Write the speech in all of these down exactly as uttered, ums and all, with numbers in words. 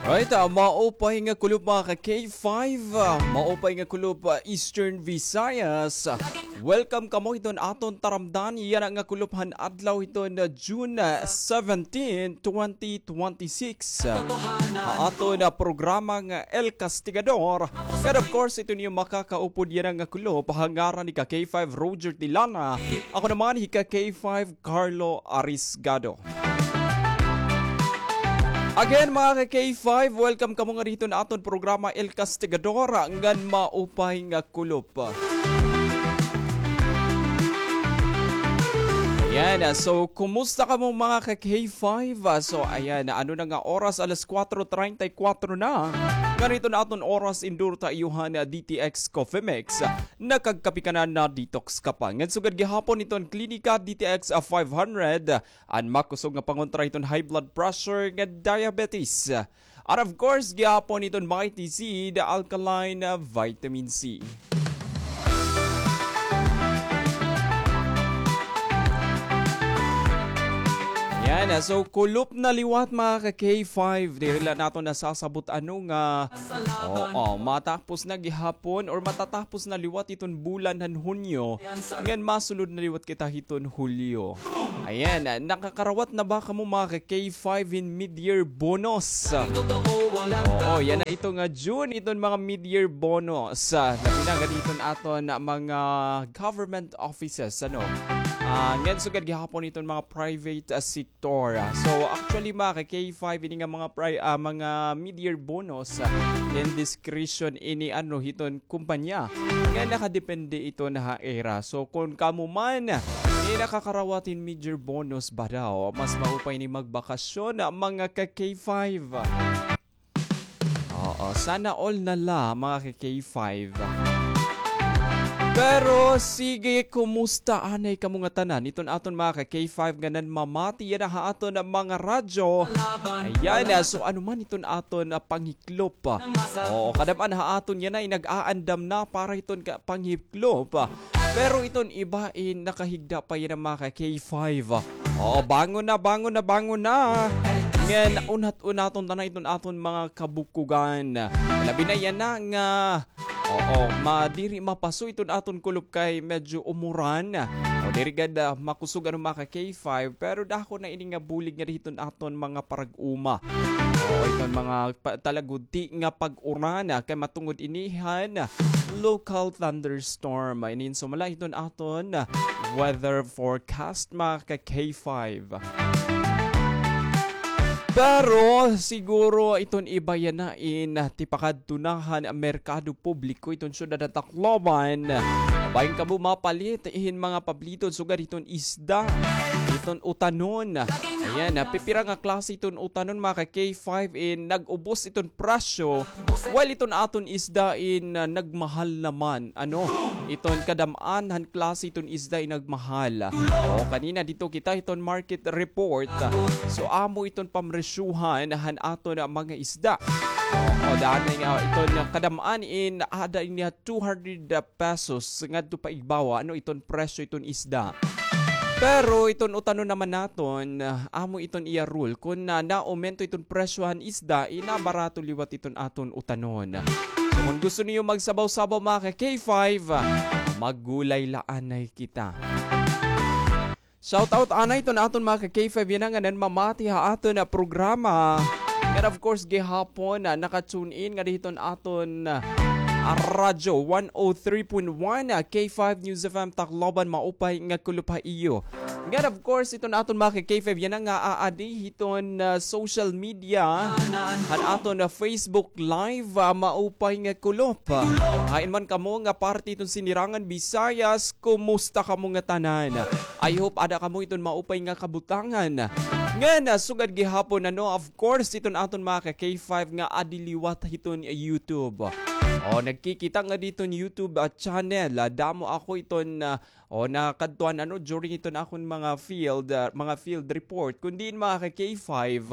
Right, ah, maupay nga kulop, mga ka K five, ah, maupay nga kulop, ah, Eastern Visayas. Welcome kamo hiton aton taramdan, yana nga kulop han adlaw hiton, ah, June, ah, seventeen, twenty twenty-six. Ah, ha aton, ah, programa nga El Castigador. And of course, iton iyo makakaupod yana nga kulop, ha ngaran ni ka K five Roger Tilana. Ako naman, hi ka K five Carlo Arisgado. Again, mga ka K five, welcome kamo ngadi hiton aton programa El Castigador, ngan maupay nga kulop. Ayan, ah, so kumusta kamo, mga ka K five? Ah, so ayan, ano na nga oras, alas kuwatro treinta y kuwatro na. Ngadi hiton aton oras, in-due ta iyo han, ah, D T X Coffee Mix. Nakagkape ka na, na-detox ka pa. Ngan sugad gihapon hiton Klinika D T X, ah, five hundred, an makusog nga pangontra hiton high blood pressure ngan diabetes. And of course, gihapon hiton Mighty Seed Alkaline, ah, Vitamin C. Yan, ah, so kulop na liwat, mga ka K five. Diri la naton nasasabot ano nga, oo, matapos na gihapon or matatapos na liwat iton bulan han Hunyo. Ngan masulod na liwat kita hiton Hulyo. Ayan, ah, nakakarawat na ba kamo, mga ka K five, hin mid-year bonus? Oo, yana ito nga June, iton mga mid-year bonus. Ah, labi na ngadi hiton aton mga government offices, ano? Ah, ngan sugad gihapon iton mga private, ah, sector. Ah, so, actually, mga ka K five, ini nga mga pri-, ah, mga mid-year bonus, ah, indiscretion ini, ano, hiton kumpanya nga nakadepende ito na ha ira. So, kon kamo man, eh, nakakarawat hin mid-year bonus ba daw, mas maupay ni magbakasyon, ah, mga ka K five. Oo, sana all na la, mga ka K five. Pero sige, kumusta anay kamo ngatanan? Iton aton mga ka K five nga nanmamati yana ha aton mga radyo. Ayan, ah, so ano man iton aton, ah, panghiklop, ah. Oo, kadam-an ha aton yana, eh, nag-aandam na para hiton ka-, panghiklop, ah. Pero iton iba, eh, nakahigda pa yana, mga ka K five, ah. Oo, bangon na, bangon na, bangon na. Ngan unhat-unaton ta na iton aton mga kabukugan. Labi na yana nga, oo, ma-, diri mapaso iton aton kulop kay medyo umuran. O, diri gad, ah, makusog ano, mga ka K five, pero dako na ini nga bulig ngadi hiton aton mga parag-uma. O, iton mga pa-, talagudi nga pag-uran, ah, kay matungod ini han local thunderstorm. Inin sumala hiton aton weather forecast, mga ka K five. Pero siguro iton iba yana in tipakadto na han merkado publiko iton syudad han Tacloban. Bahin kamo mapalit hin mga pabliton sugad hiton isda, hiton utanon. Ayan, ah, pipira nga klase hiton utanon, mga ka K five, in nag-ubos iton presyo. While iton aton isda in, ah, nagmahal naman, ano, iton kadam-an han klase iton isda in nagmahal. O, kanina didto kita hiton market report. So, amo iton pamresyuhan han aton, ah, mga isda. O, danay nga iton kadam-an in aada ini two hundred pesos ngadto pa igbawa, ano, iton presyo iton isda. Pero iton utanon naman naton, ah, amo iton iya rule. Kon na, naumento iton presyo han isda, inabarato liwat iton aton utanon. So, kon gusto niyo magsabaw-sabaw, mga ka K five, ah, maggulay la anay kita. Shout out anay iton aton mga ka K five yana nga nanmamati ha aton nga programa. And of course, gihapon, ah, naka-tune in ngadi hiton aton, ah, radyo, one oh three point one, ah, K five News F M Tacloban, maupay nga kulop ha iyo. And of course, iton aton mga ka K five yana nga aadi hiton, ah, social media, han aton, ah, Facebook Live, ah, maupay nga kulop. Hain man kamo nga parte hiton Sinirangan Visayas, kumusta kamo ngatanan? I hope ada kamo hiton maupay nga kabutangan. Ngan, ah, sugad gihapon, ano, of course, iton aton mga ka K five nga adi liwat hiton YouTube. O, nagkikita ngadi hiton YouTube, ah, channel. Ah, damo ako iton, ah, o, nakadtuan, ano, during iton akon mga field, ah, mga field report. Kon diin, mga ka K five,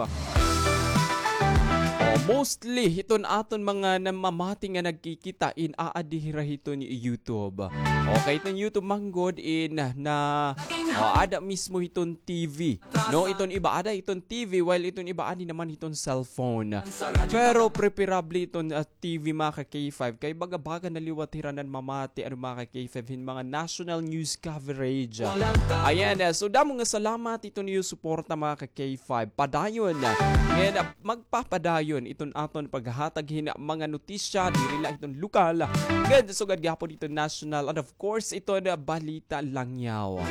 o, mostly, hiton aton mga namamati nga nagkikita in aadi hira hiton YouTube. Okay, iton YouTube man gud in na O, ada mismo hiton T V. No, iton iba ada hiton T V, while iton iba adi naman hiton cellphone. Pero preferable iton, ah, T V, mga ka-K five, kay baga-baga na liwat hira nan mamati, ano, mga ka-K five, hin mga national news coverage. Ayan, ah, so damo nga salamat iton iyo suporta, mga ka-K five. Padayon, ah, ngayon, ah, magpapadayon iton aton paghahatag hin mga notisya, diri la iton lokal, ngan sugad gihapon iton national, and of course, iton balita langyaw.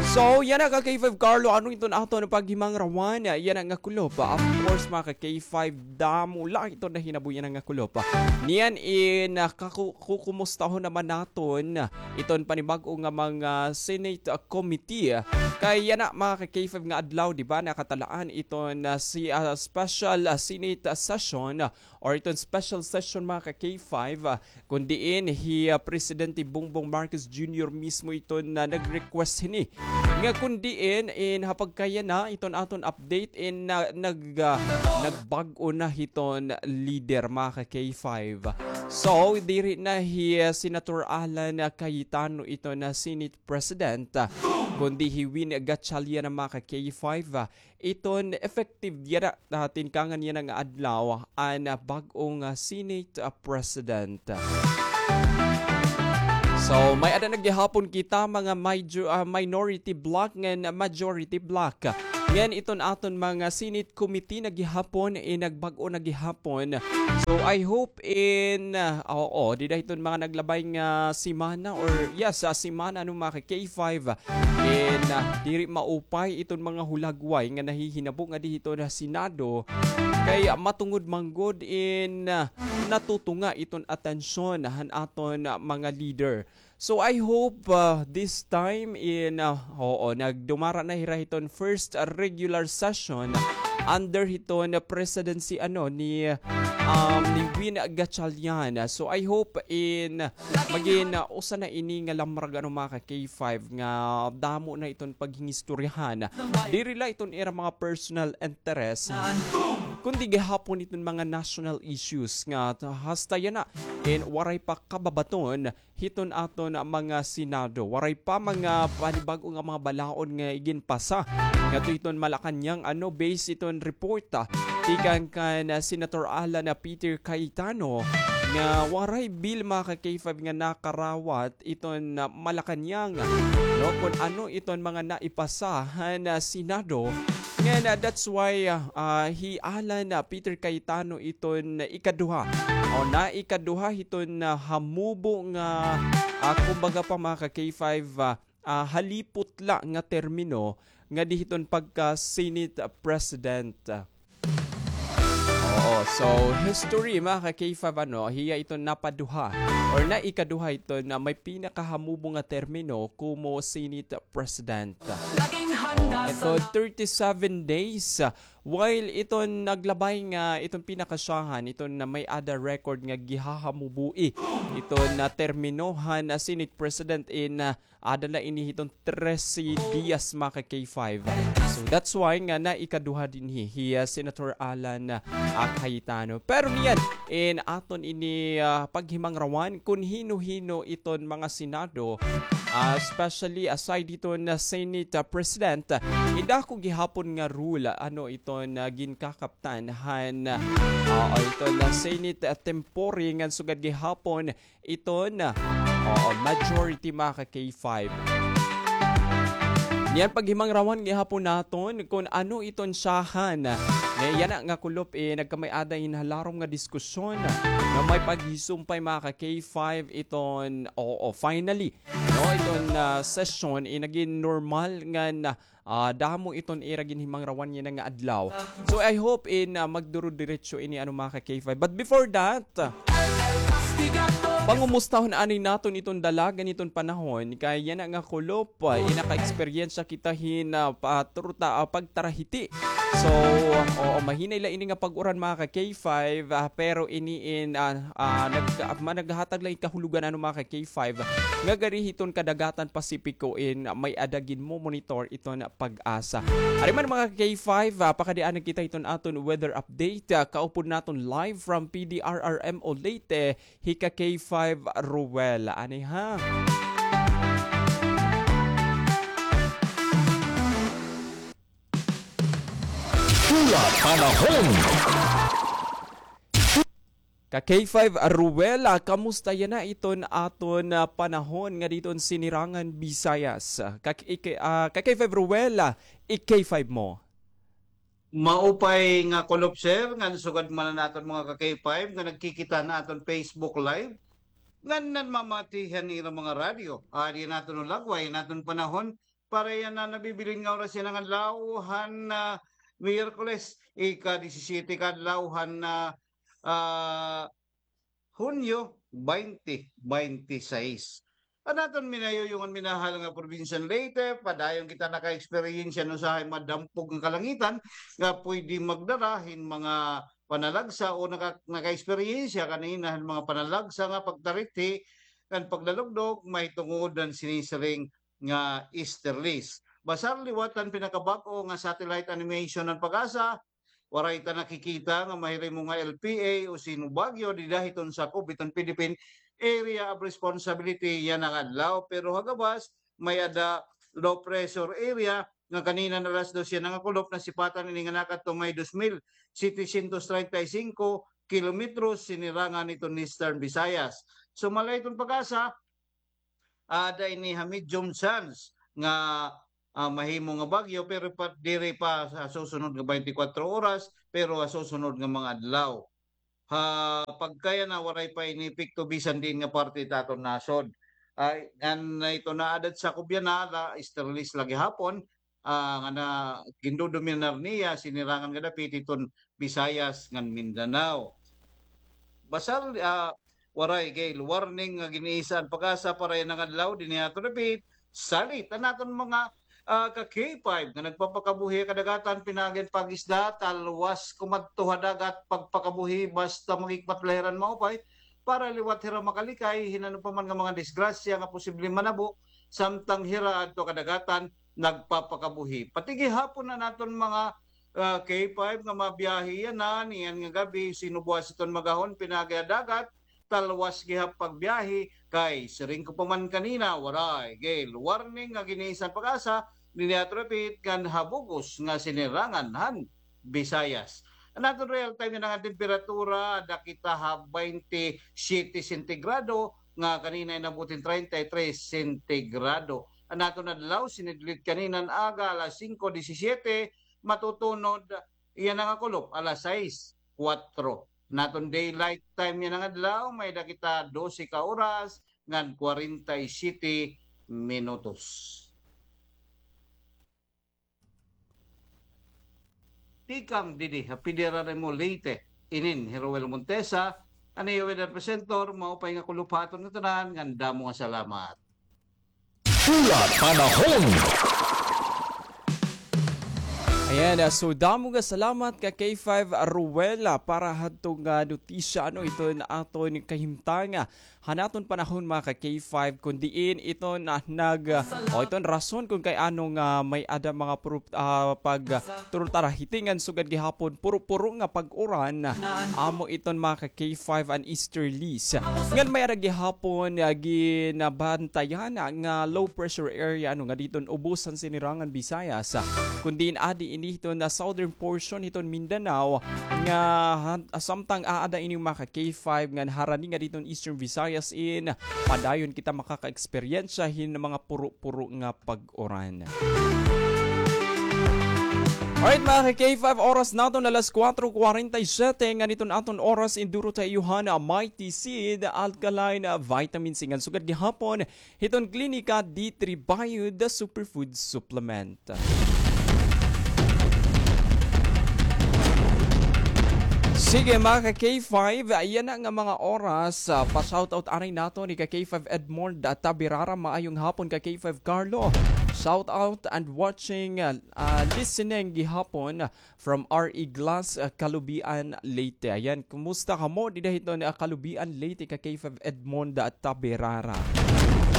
So, yana ka-K five Carlo, ano iton aton paghimangrawan? Yana nga kulop. Of course, mga ka-K five, damo la iton nahinabo yana nga kulop. Niyan in, ah, kaku-, kukumustahon naman naton iton panibag-o nga mga Senate, ah, committee. Kay yana, mga ka-K five, nga adlaw, di ba, nakatalaan iton, ah, si, ah, special, ah, Senate, ah, session, ah, or iton special session, mga ka-K five, ah, kun diin hi, ah, Presidente Bongbong Marcos Junior mismo iton nag-request hini. Nga kun diin in ha pagkayana iton aton update in na-, nag-, ah, nagbag-o na hiton leader, mga ka-K five. So, diri na hi, ah, Senator Alan, ah, Cayetano iton Senate President, ah, kundi hi Win Gatchalian, mga ka-K five, ah, iton effective yana, ah, tinkangan yana nga adlaw an, ah, bag-o nga Senate, ah, President. So, may-ada na gihapon kita mga major-, ah, minority bloc ngan majority bloc. Ngan iton aton mga Senate committee na gihapon, eh, nagbag-o na gihapon. So, I hope in, ah, oo, dida hiton mga naglabay nga semana or, yes, ah, semana, ano, mga ka-K five, in, ah, diri maupay iton mga hulagway nga nahihinabo ngadi hiton Senado, kay, ah, matungod man gud in, ah, natutunga iton atensyon han aton, ah, mga leader. So, I hope, ah, this time in, ah, oo, nagdumara na hira hiton first, ah, regular session under hiton presidency, ano, ni, um, ni Win Gatchalian. So, I hope in magin, ah, usa na ini nga lamrag, ano, mga ka-K five, nga damo na iton paghingistoryahan. Diri la iton ira mga personal interest, kundi gihapon iton mga national issues nga hasta yana in waray pa kababaton hiton aton mga Senado. Waray pa mga panibag-o nga mga balaod nga iginpasa ngadto hiton Malacañang, ano, base iton report, ah, tikang kan, ah, Senator Alan, ah, Peter Cayetano nga waray bill, mga ka-K five, nga nakarawat iton, ah, Malacañang, no, kun ano iton mga naipasa han, ah, Senado. Ngan, ah, that's why, ah, ah, hi Alan, ah, Peter Cayetano iton ikaduha. O, na ikaduha hiton, ah, hamubo nga, ah, kumbaga pa, mga ka-K five, ah, ah, halipot la nga termino ngadi hiton pagka-Senate President. Oo, so history, mga ka-K five, ano, hiya iton napaduha or na ikaduha iton may pinakahamubo nga termino kumo Senate President. Oo, ito, thirty-seven days, ah, while iton naglabay nga iton pinakasyahan, iton may-ada record nga gihahamuboi iton termino han Senate President in, ah, ada la ini hiton trese dias, mga ka-K five. So, that's why nga na ikaduha dinhi hi, ah, Senator Alan, ah, Cayetano. Pero niyan, in aton ini, ah, paghimangrawan kun hino-hino iton mga Senado, ah, especially aside hiton Senate, ah, President, ah, idako gihapon nga rule, ano, iton, ah, ginkakaptan han, ah, o iton, ah, Senate, ah, tempore ngan sugad gihapon iton, oo, majority, mga ka-K five. Niyan paghimangrawan gihapon naton kun ano iton syahan. Nga yana nga kulop, eh, nagkamay-ada hin halarom nga diskusyon nga may paghisumpay, mga ka-K five, iton, oo, finally, no, iton, ah, session, eh, nagin normal nga na ah, damo iton ira ginhimangrawan yana nga adlaw. So, I hope in, ah, magduro-diretso ini, ano, mga ka-K five. But before that, ah, pangumustahon anay naton iton dalagan iton panahon. Kay yana nga kulop, ah, inaka-eksperyensya kita hin, ah, patruta, ah, pagtarahiti. So, oo, mahinay la ini nga pag-uran, mga ka-K five, ah, pero ini in, ah, ah, nag-, ah, ma-, naghatag la hin kahulugan, ano, mga ka-K five, nga gari hiton kadagatan Pasipiko in may-ada ginmo-monitor iton PAGASA. Ari man, mga ka-K five, ah, pakadianan kita hiton aton weather update. Ah, kaupod naton live from P D R R M O Leyte, hi ka-K five Ruel. Ani ha? Panahon. Ka K five Ruel, ah, kamusta yana iton aton, ah, panahon ngadi hiton Sinirangan Visayas? Ka, ik-, ah, ka K five Ruel, ah, i-K five mo. Maupay nga kulop, sir, ngan sugad man an aton mga ka K five nga nagkikita han aton Facebook Live, ngan nanmamati han ira mga radyo. Adi an aton lagway, an aton panahon, para yana nabibilin nga oras yana nga adlaw han, ah, Miyerkules, ika-disisiyete ka adlaw han, ah, ah, Hunyo twenty twenty-six. An aton minayuyong ngan minahal nga probinsya han Leyte, padayon kita naka-eksperyensya han usahay madampog nga kalangitan nga pwede magdara hin mga panalagsa o naka-, naka-eksperyensya kanina han mga panalagsa nga pagtarithi ngan paglalugdog mahitungod han sinisiring nga easterlies. Basar liwat han pinakabag-o nga satellite animation han PAGASA, waray ta nakikita nga mahirimo nga L P A o Sino Bagyo dida hiton sakob hiton Philippine Area of Responsibility yana nga adlaw, pero ha gabas may-ada low pressure area nga kanina alas dos yana nga kulop nasipatan ini nga nakadto may dos mil setecientos treinta y cinco kilometros sinirangan hiton Eastern Visayas. Sumala hiton PAGASA, aada ini ha medium chance nga, ah, mahimo nga bagyo, pero pa, diri pa sa susunod nga twenty-four oras, pero ha susunod nga mga adlaw. Ha pagkayana, waray pa ini epekto bisan diin nga parte ta aton nasod. Ay, ngan ito na aada ha sakob yana, la, easterlies la gihapon, ah, nga na, gindodominar niya sinirangan nga dapit hiton Visayas ngan Mindanao. Basar, ah, waray gale warning nga gin-iisa an PAGASA para yana nga adlaw dinhi ha aton dapit. Salit an aton mga, ah, ka K five nga nagpapakabuhi ha kadagatan, pinaagi han pag-isda, talwas kumadto ha dagat, pagpakabuhi basta magikmat la hira hin maupay para liwat hira makalikay hin ano pa man nga mga disgrasya nga posible manabo samtang hira adto ha kadagatan nagpapakabuhi. Pati gihapon an aton mga, ah, K five nga mabiyahe yana, niyan nga gab-i, Sino buwas hiton mag-ahon, pinaagi ha dagat, talwas gihap pagbiyahe, kay siring ko pa man kanina, waray gale warning nga gin-iisa han PAGASA dinhi ha aton dapit ngan ha bug-os nga sinirangan han Visayas. An aton real time yana nga temperatura, aada kita ha twenty-seven sentigrado, nga kanina inabot hin treinta y tres sentigrado. An aton adlaw, sinidlit kanina nga aga, alas singko disisiyete, matutunod yana nga kulop, alas sais kuwatro. An aton daylight time yana nga adlaw, may-ada kita dose ka oras ngan kwarenta y siyete minutos. Tikang didi ha Federal Remo Leyte, inin hi Roel Montesa, an iyo weather presenter, maupay nga kulop ha aton ngatanan, ngan damo nga salamat. Pula Panahon. Ayan, ah, so damo nga salamat ka K five Ruel, ah, para hadto nga notisya, ano, iton aton kahimtang, ah, han aton panahon, mga ka K five, kun diin iton, ah, nag, ah, o iton rason kun kay ano nga may-ada mga puru-, ah, pag, ah, turutarahitingan sugad gihapon puro-puro nga pag-uran, ah, amo iton, mga ka K five, an easterlies. Ngan may-ada gihapon, ah, ginabantayan nga low pressure area, ano, nga diton ubos han sinirangan Visayas, ah, kun diin adi ini hiton, ah, southern portion hiton Mindanao nga han-, ah, samtang aada ini, mga ka K five, ngan harani nga diton Eastern Visayas in padayon kita makaka-eksperyensya hin mga puro-puro nga pag-uran. Alright, mga ka K five, oras naton alas kuwatro kwarenta y siyete, ngan iton aton oras induro ta iyo han Mighty Seed Alkaline Vitamin C ngan sugad gihapon hiton Klinika D three Bio, the superfood supplement. Sige, mga ka K five, yana nga mga oras, ah, pa-shoutout anay naton ni ka K five Edmond, ah, Tabirara, maayong hapon ka K five Carlo. Shoutout and watching, ah, ah, listening gihapon from R E Glass, ah, Calubian, Leyte. Ayan, kumusta kamo dida hiton, ah, Calubian, Leyte, ka K five Edmond, ah, Taberara?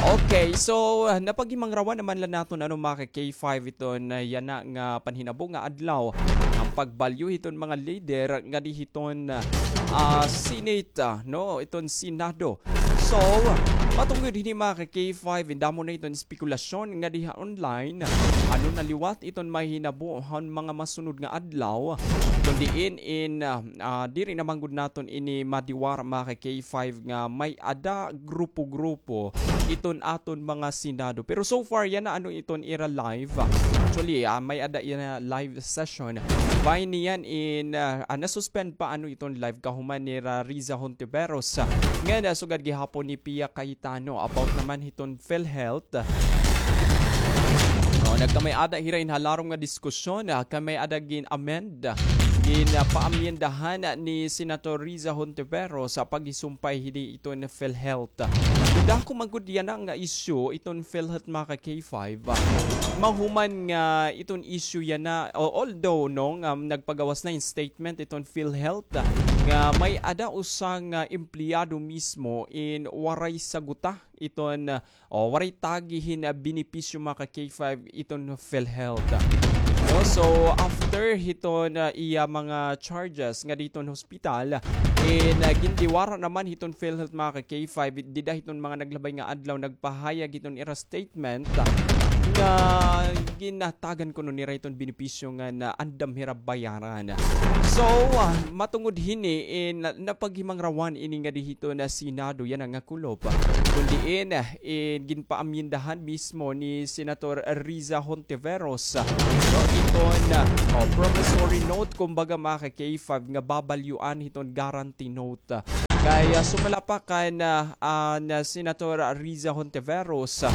Okay, so, ah, napaghimangrawan naman la naton, ano, mga ka K five, iton, ah, yana nga panhinabo nga adlaw, an pagbalyo hiton mga leader ngadi hiton, ah, Senate, ah, no, iton Senado. So, matungod hini, mga ka-K five, damo na iton espekulasyon nga diha online. Ano na liwat iton mahinabo han mga masunod nga adlaw? Kon diin in, ah, ah, diri na man gud naton ini madiwara, mga ka-K five, nga may-ada grupo-grupo iton aton mga Senado. Pero so far, yana ano iton ira live. Actually, ah, may-ada yana live session. Bay niyan in, ah, ah, na-suspend pa ano iton live kahuman nira Riza Hontiveros, ah, nga nasugad gihapon ni Pia Cayetano about naman hiton PhilHealth. Oh, nagkamay-ada hira hin halarom nga diskusyon, ah, kay may-ada gin-amend, ah, gin, ah, paamyendahan ni Senator Riza Hontiveros sa paghisumpay hini iton PhilHealth. Dako man gud yana nga issue iton PhilHealth, mga ka-K five. Mahuman nga iton issue yana, o, although, no, nga nagpagawas na hin statement iton PhilHealth, nga may-ada usa nga empleyado mismo in waray saguta iton, o, waray tagi hin, ah, benepisyo, mga ka-K five, iton PhilHealth. No, so, after hiton, ah, iya mga charges nga diton hospital, in, ah, gindiwara naman hiton PhilHealth, mga ka-K five, dida hiton mga naglabay nga adlaw nagpahayag hiton ira statement, ah, nga ginatagan kuno nira hiton benepisyo nga naandam hira bayaran. So, ah, matungod hini, in, na-, napaghimangrawan ini nga dihiton Senado, yana nga kulop. Kon diin, eh, ginpaamyendahan mismo ni Senator Riza Hontiveros, ah, no, iton, ah, o, promissory note, kumbaga, mga ka-K five, nga babalyuan hiton guarantee note. Kay, ah, sumala pa kan, ah, ah, na Senator Riza Hontiveros, ah,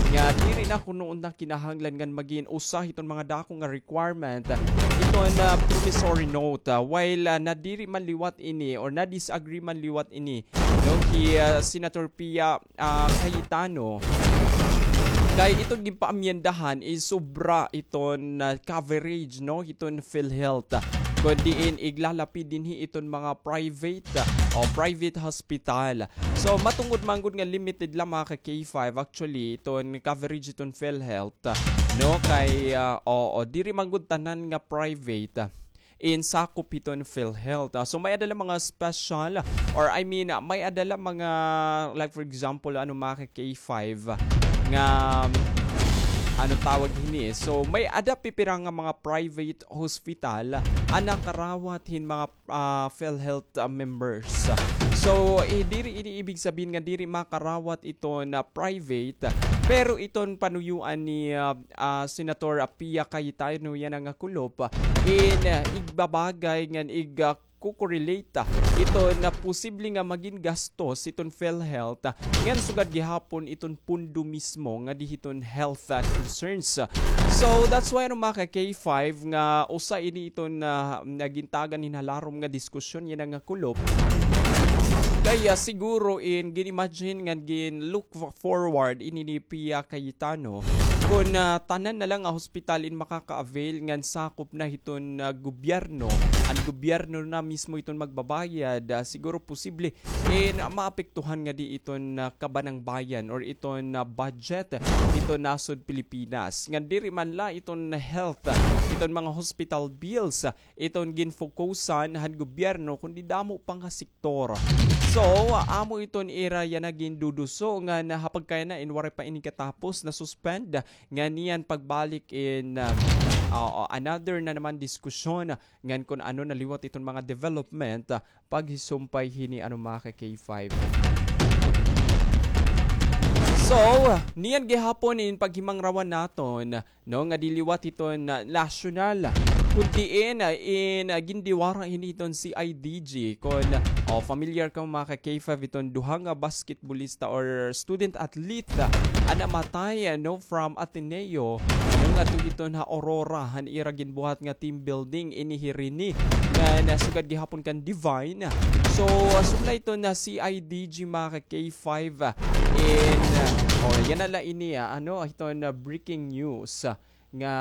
nga diri na kuno na kinahanglan ngan magin usa hiton mga dako nga requirement, ah, iton, ah, promissory note, ah, while, ah, nadiri man liwat ini or na-disagree man liwat ini, no, hi, ah, Senator Pia, ah, Cayetano. Kay iton ginpaamyendahan is sobra iton, ah, coverage, no, hiton PhilHealth. Kon diin iglalapid dinhi iton mga private, ah, o private hospital. So, matungod man gud nga limited lang, mga ka-K five, actually, iton coverage iton PhilHealth, no, kay, ah, oo, diri man gud tanan nga private, ah, in sakop hiton PhilHealth. Ah, so, may-ada la mga special, or I mean, ah, may-ada la mga, like, for example, ano, mga ka-K five, nga, ano tawag hini? So, may-ada pipira nga mga private hospital, ah, nakarawat hin mga, ah, PhilHealth, ah, members. So, eh, diri ini ibig sabihin nga diri makarawat iton private, pero iton panuyuan ni, ah, ah, Senator Pia Cayetano yana nga kulop, in, ah, igbabagay ngan ig, ah, kukorelate iton posible nga magin gastos iton PhilHealth, ngan sugad gihapon iton pondo mismo nga dihiton health, ah, concerns. So, that's why, ano, mga ka-K five, nga usa ini iton, ah, nagintagan hin halarom nga diskusyon yana nga kulop. Kaya siguro in gin-imagine ngan gin-look forward ini ni Pia Cayetano, kon, ah, tanan na lang nga hospital in makaka-avail ngan sakop na hiton, ah, gobyerno, an gobyerno na mismo iton magbabayad, ah, siguro posible in maapektuhan ngadi iton, ah, kabanang bayan or iton, ah, budget iton nasod Pilipinas. Ngan diri man la iton health, ah, iton mga hospital bills, ah, iton ginfokusan han gobyerno, kundi damo pa nga sektor. So, amo iton ira yana ginduduso ngan ha pagkayana in waray pa ini katapos, na-suspend, ngan niyan pagbalik in, ah, ah, another na naman diskusyon, ngan kon ano na liwat iton mga development, ah, paghisumpay hini, ano, mga ka-K five. So, niyan gihapon in paghimangrawan naton, no, nga di liwat iton nasyonal, kun diin, ah, in, ah, gindiwara hini iton C I D G. Kon, oh, familiar ka, mga ka-K five, iton duha nga basketballista or student athlete, ah, an namatay, ah, no, from Ateneo, no, ngadto iton ha Aurora, han ira ginbuhat nga team building ini hi Rene, nga nasugad gihapon kan Divine. So, ah, sumala iton C I D G, mga ka-K five, ah, in, ah, oh, yana la ini, ah, ano, iton, ah, breaking news, ah, nga,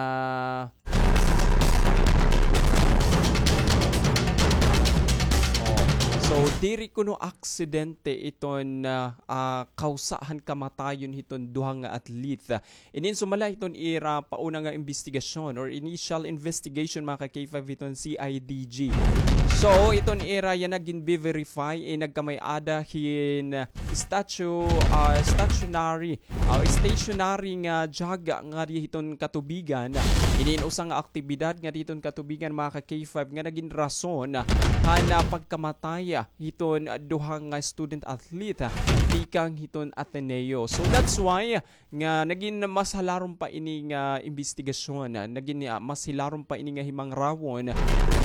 oh, so, diri kuno aksidente iton, ah, ah, kawsa han kamatayon hiton duha nga athlete. Inin sumala hiton ira pauna nga imbestigasyon or initial investigation, mga ka-K five, hiton C I D G. So, iton ira yana ginbe-verify, eh, nagkamay-ada hin statue, ah, stationary, ah, stationary nga jaga ngadi hiton katubigan. Inin usa nga aktibidad ngadi hiton katubigan, mga ka-K five, nga nagin rason han, ah, pagkamatay hiton, ah, duha nga student athlete, ah, tikang hiton Ateneo. So, that's why nga nagin mas hilarom pa ini nga imbestigasyon, ah, nagin, ah, mas hilarom pa ini nga himangrawon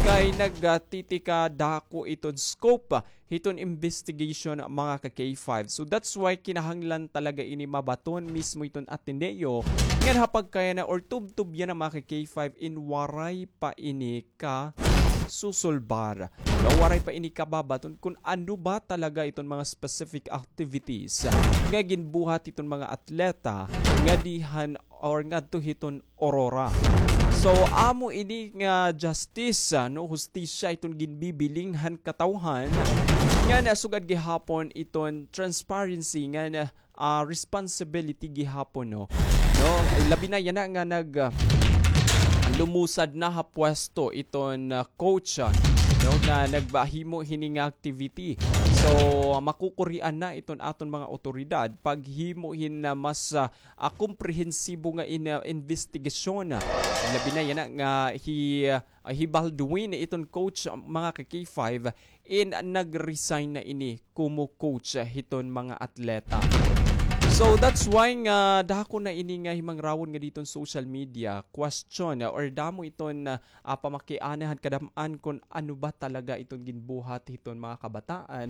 kay nagtitikadako iton scope, ah, hiton investigation, mga ka-K five. So that's why kinahanglan talaga ini mabaton mismo hiton Ateneo ngan ha pagkayana or tubtob yana, mga ka-K five, in waray pa ini kasusulbar. No, waray pa ini kababaton kun ano ba talaga iton mga specific activities nga ginbuhat hiton mga atleta ngadi han or ngadto hiton Aurora. So, amo ini nga justice, ah, no, hustisya iton ginbibiling han katawhan nga nasugad gihapon iton transparency nga na ah, responsibility gihapon, no? No, labi na yana nga nag, ah, lumusad na ha pwesto iton, ah, coach, ah, no, nga nagbahimo hini nga activity. So, ah, makukurian na iton aton mga otoridad paghimo hin, ah, mas, ah, ah, komprehensibo nga in-, ah, investigasyon. Labi na yana nga hi, ah, ah, hi Baldwin, iton coach, ah, mga ka-K five, in nag-resign na ini kumo coach, ah, hiton mga atleta. So that's why nga dako na ini nga himangrawon nga diton social media, question, ah, or damo iton, ah, ah, pamakiana han kadam-an kun ano ba talaga iton ginbuhat hiton mga kabataan